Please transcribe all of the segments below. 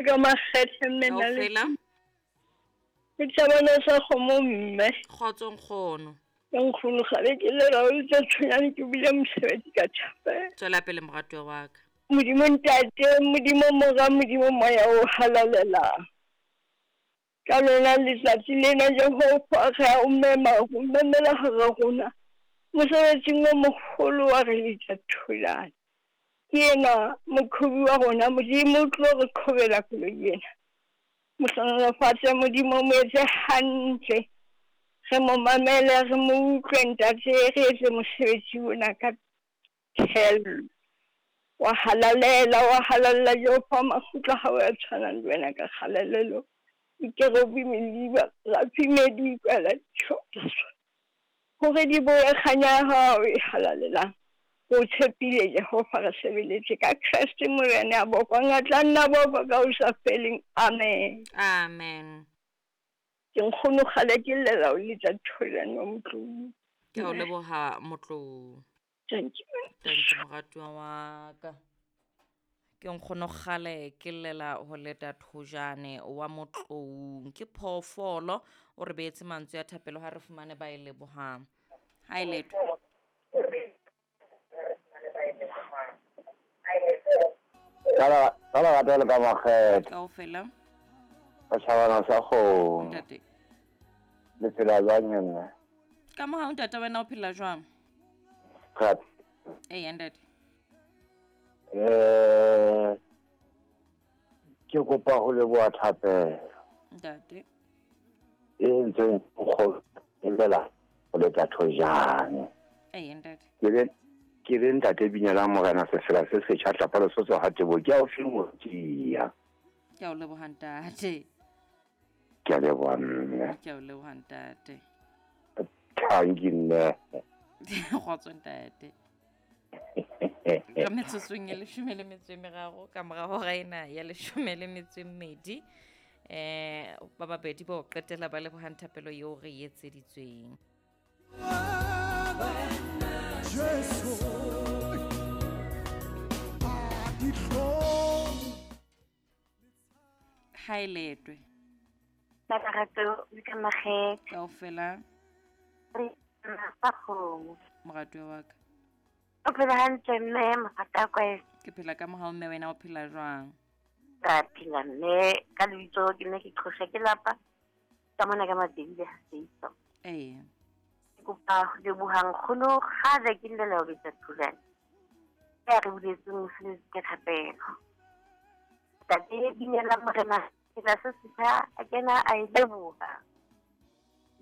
Ka makgethe mme na le Kaofela. Ke tšhabana sa kgomo mme. Kgotso nkgono. Ke nkgono gale ke lela o tsa tshwenyane ke bile mosebetsi ka thapelo. Tswela pele moratuwa wa ka. Modimo ntate, Modimo mora, Modimo moya o halalelang. Ka lona letsatsi lena Jehova re a o mema, o memela hara rona. Mosebetsing o mogolo wa re letsa tholana. Ke yena moqhobi wa rona, Modimo o tlo re qhobela koloi ena. Mo hlohonolofatse Modimo, mo etse hantle. Re mo mamele, re mo utlwe ntate, re etse mosebetsi ona ka thello. Wa halalela, wa halalela Jehova, makgotla hao a tshwanang le wena ka kgalalelo. Dikerubime di rafi di utlwela ditjho hore di boye kganya ya hao e halalelang. O tshepile Jehova, re sebeletse ka Kreste Morena ya bokwang a tla nna bokwa ka ho sa feleng. Amen. Amen. Ke nkgono kgale ke llela o letsa tholane wa Motlou. Ke a o leboha Motlou. Thank you. Thank you moratuwa wa ka. Ke nkgono kgale ke llela ho leta thojane wa Motloung. Ke phoofolo o re beetse mantswe a thapelo ha re fumane ba e lebohang. Ha e letho. Ka lerato le ka makgethe. Kaofela. Setjhabana sa kgomo. Ntate. Le phela jwang mme? Ka mohau ntate, wena o phela jwang? Re Eya ntate. Ke kopa ho leboha thapelo. Ntate. E entsweng nkgono e llela ho letsa thojane. Eya ntate. Ke le ntate Binela Morena sefela se setjha tlapa Lesotho ha tebo ke a o fimotia. Ke a o leboha ntate. Ke a leboha mme. Ke a o leboha ntate. Thank you mme. Kgotso ntate. Ka metsotsong e 13 ka mora hora ena ya 12, ba babedi ba o qetela ba lebohang thapelo eo re e etseditsweng. Jesu a dihlong. Ha e letwe. Ka lerato le ka makgethe. Kaofela. Re sa kgomo. Moratuwa wa ka. O phela hantle mme mohatsa kwa. Ke phela ka mohau mme, wena o phela jwang? Ka phela mme, ka lebitso ke ne ke qhosha ke lapa. Ka mona ka mabedi le seiso. Ee. Ke kopa ho leboha nkgono kgale ke llela ho betsa thulane. Ke re buletseng mosebetsi ka thapelo. Ntate Binela Morena sefela se setjha a kena a e leboha.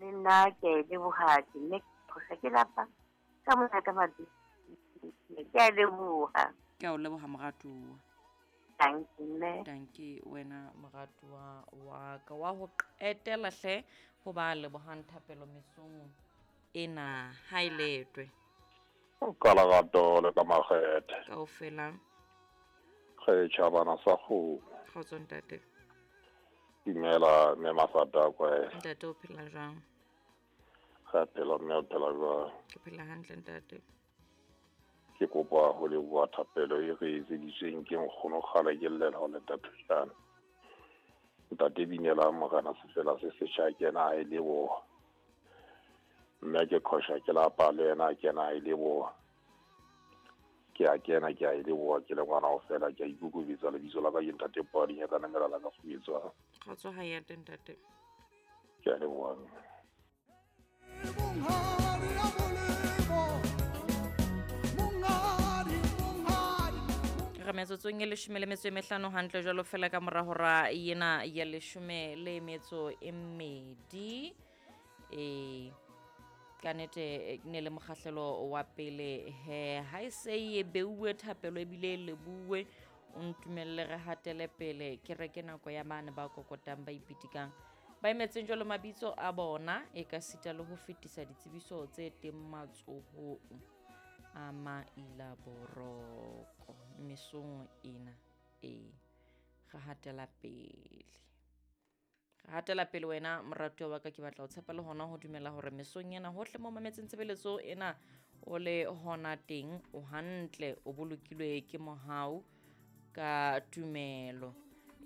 Le nna ke a e leboha, ke nne ke qhosha ke lapa. Ka mona ka mabedi. Ke a leboha. Ke a o leboha moratuwa. Thank you mme. Thank you wena moratuwa wa ka wa ho qetela hle ho ba lebohang thapelo mesong ena ha e letwe. Ka lerato le ka makgethe. Kaofela. Re tjhabana sa kgomo. Kgotso ntate. Dumela mme Masata kwa. Ntate o phela jwang? Re phela mme, o phela jwang? Ke phela hantle ntate. Ke kopa ho leboha thapelo e re etseditsweng ke nkgono kgale ke llela ho leta thujana. Ntate Binela Morena sefela se setjha kena a e leboha. Mme ke qhosha ke lapa le yena a kena a e leboha. Ke a kena ke a e leboha ke le ngwana ho fela ke a ikokobetsa lebitso la ka ke ntate Padi ya ka namela la ka fubetswa. Kgotso ha ya teng ntate. Ke a leboha mme. Monghadi ya molemo. Monghadi, monghadi. Re metsotsong e 15 hantle jwalo fela ka mora hora ena ya 12. Ka nnete ne le mokgahlelo wa pele he ha e se e beuwe thapelo ebile e lebuwe o ntumelle re hatele pele ke reke nako ya bane ba kokotang ba ipitikang ba emetseng jwalo mabitso a bona e ka sita le ho fetisa ditsebiso tse teng matsohong a maila boroko mesong ena e re hatela pele. Re hatela pele wena moratuwa wa ka, ke batla ho tshepa le hona ho dumela hore mesong ena hohle mo mametseng tshebeletso ena o le hona teng o hantle o bolokilwe ke mohau ka tumelo.